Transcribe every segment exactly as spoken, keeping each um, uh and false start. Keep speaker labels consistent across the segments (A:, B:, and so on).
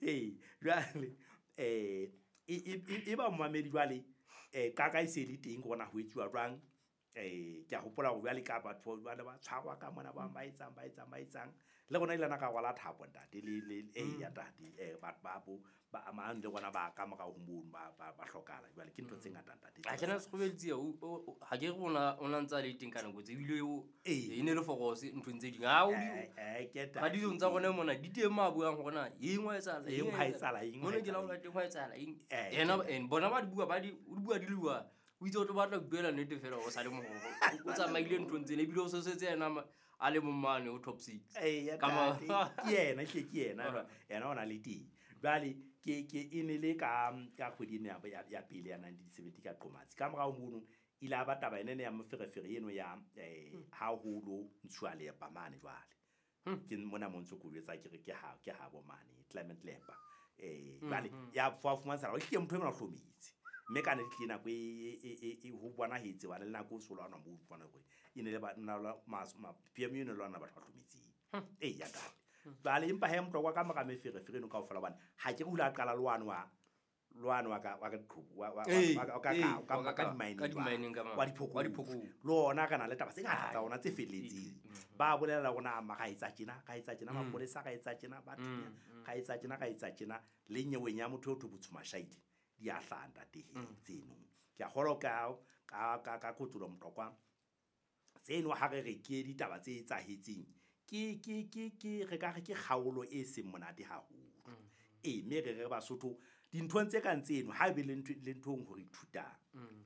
A: Ee, jwale um e ba momamedi jwale um qaka e se le teng gore na ho etsuwa jwang. um Ke a hopola hore jwale ka batho jwale ba tshwarwa ka mona, ba bang ba etsang ba etsang ba etsang le rona ile ka rwala thapo ntate le le eya ntate um batho ba bo ba amang le rona ba ka morao ho mono ba ba ba hlokahala. Jwale ke ntho tse ngata ntate.
B: Ha ke na Sekgobeletsea ha ke re ona o na ntse a le teng ka nako tse ebile o
A: Ee.
B: e ne le forose nthong tse ding. Ha o di
A: Eh, eh, ke ntate.
B: radiong tsa rona mona di teng ma buang hore na eng wa etsahala,
A: Eng hwa etsahala, eng hwa
B: mona ke la
A: etsahala.
B: o teng hwa etsahala eng.
A: Eh,
B: Yena
A: ke-
B: and bona ba di bua ba di o di bua di le bua. O itse o tlo batla ho buela nnete fela o sa le moholo. O tsamaile nthong tsena ebile o sosetse yena ma- a le mong mane ho top six.
A: Eya,
B: Ka ma-
A: ntate, ke yena ehlile ke yena jwale, yena o na le teng. Jwale ke ke e ne le ka ka kgwedi ena ya ya pele ya nineteen seventy ka Qomatsi. Ka morao mono ile a ba taba ena ya moferefere eno ya eh ha ho lo ntshuwa leepa mane jwale. Ke mona mo ntso ko jwetsa ke re ke ha ke ha bo mane Clement Lepa. Eh jwale ya fa fumantsha hore ehlile motho enwa o hlometse. Mme ka nnete tlile nako e e e e ho bonahetse hobane le nako o so lwanwa moo o fumana hore e ne le ba nna la mas ma P M eno e lwana batho ba hlometseng. Eya ntate. Jwale empa hee Motlokwa ka mora meferefere eno kaofela hobane ha ke re o ile a qala le wane wa lwane wa ka wa ka diqhobo wa wa
B: Ee,
A: wa ka
B: ee,
A: ka ka
B: wa
A: ka
B: ka-
A: di-mining
B: ka di-mining ka
A: jwale.
B: mane.
A: Wa diphokong.
B: Wa diphokong.
A: Le ona re na le taba tse ngata tsa ona tse felletseng. Ba bolela hore na ma ra etsa tjena, ra etsa tjena, mapolesa ra etsa tjena, ba thunya, ra etsa tjena, ra etsa tjena. Le nyeweng ya motho eo thwe Botsho Mashaile di a hlaha ntate he tseno. Ke a kgolwa ka ka ka ka Kotsolo Motlokwa tseno ha re re ke ditaba tse etsahetseng ke ke ke ke re ka re ke kgaolo e seng monate haholo. Ee, mme re re Basotho dinthong tse kang tseno ha ebe le ntho le nthong hore ithutang.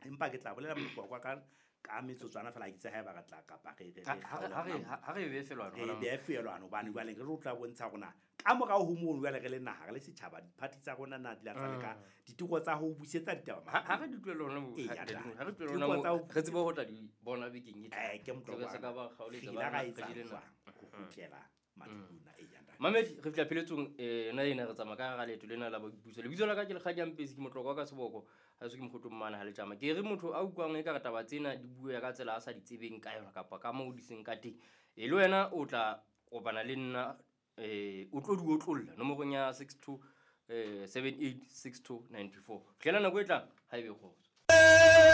A: Empa ke tla bolela Motlokwa ka ka metsotswana fela ha ke tsebe haeba re tla kapa re re
B: Ha
A: re
B: ha re ha re ha re be felwana
A: re
B: hona
A: behe felwana hobane jwale re tlo tla bontsha hore na ka morao ho mono jwale re le naha re le setjhaba di-party tsa rona na di la tsa leka diteko tsa ho busetsa ditaba
B: Ha ha re di tlohele hona moo,
A: Ee,
B: ha
A: ya
B: re
A: tla.
B: di re tlohele
A: Diteko
B: hona
A: tsa
B: moo,
A: ho-
B: re tsebe ho tla di bona bekeng e tlang.
A: Eh, ke Motlokwa.
B: Re se ka ba kgaoletsa
A: Re ile
B: ba
A: ra
B: re
A: etsa
B: jele nako.
A: jwang ho kgutlela madulong a eya ntate.
B: Mamedi, re fihla pheletsong eh yona ena re tsamaya ka hara leeto lena la boipuso. Lebitso la ka ke Lekgadi Mpesi, ke Motlokwa ka seboko, ha eso ke mokgotong mane ha letjama. Ke re motho a utlwang ekare taba tsena di bua ka tsela a sa di tsebeng ka yona kapa ka moo di seng ka teng. E le wena o tla kopana le nna eh o tlo di otlolla nomorong ya six two, eh, seven eight, six two, ninety four. Fihlela nako e tlang, ha ebe kgotso.